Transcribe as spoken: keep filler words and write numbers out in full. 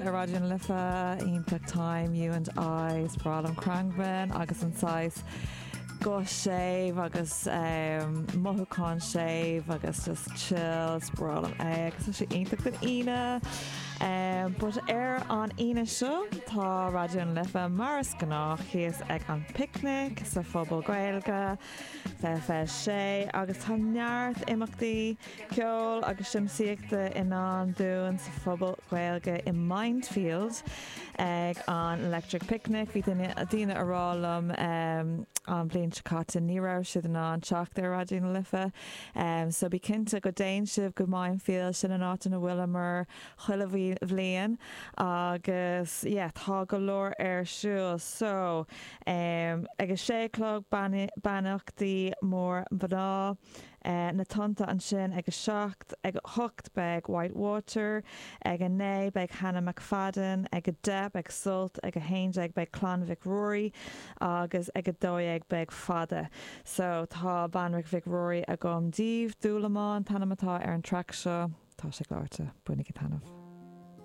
ar Raidió na Life iontach time you and I is breá liom Khruangbin agus an saghas guth séimh agus um, mothúchán séimh agus just chill is breá liom é agus tá sé iontach don Aoine. Um, but ar an Aoine seo tá Raidió na Life mar is gnách thíos ag an picnic sa phuball Gaeilge fe sé agus tá neart imeachtaí ceol agus siamsaíochta i ndán dúinn sa phuball Gaeilge i Mindfield ag an Electric Picnic bhí daoine ag rá liom um, an bhliain seo caite ní raibh siad in ann teacht ar Raidió na Life. Um, so bí cinnte go dtéann sibh go Mindfield sin an áit ina bhfuileamar chuile bhliain agus yeah, tá go leor ar siúl so um, ag a sé clog beannachtaí mór mná. Uh, na tonnta ansin ag a seacht ag a hocht beidh Whitewater, ag a naoi beidh Hannah McFadden, ag a deich beidh Sult, ag a haon déag beidh Clann Mhic Ruairí agus ag a dó dhéag beidh fada. So tá Banríon Mhic Ruairí agam daoibh Dúlamán an t-ainm atá ar an track seo tá sé gleoite bainigí taitneamh.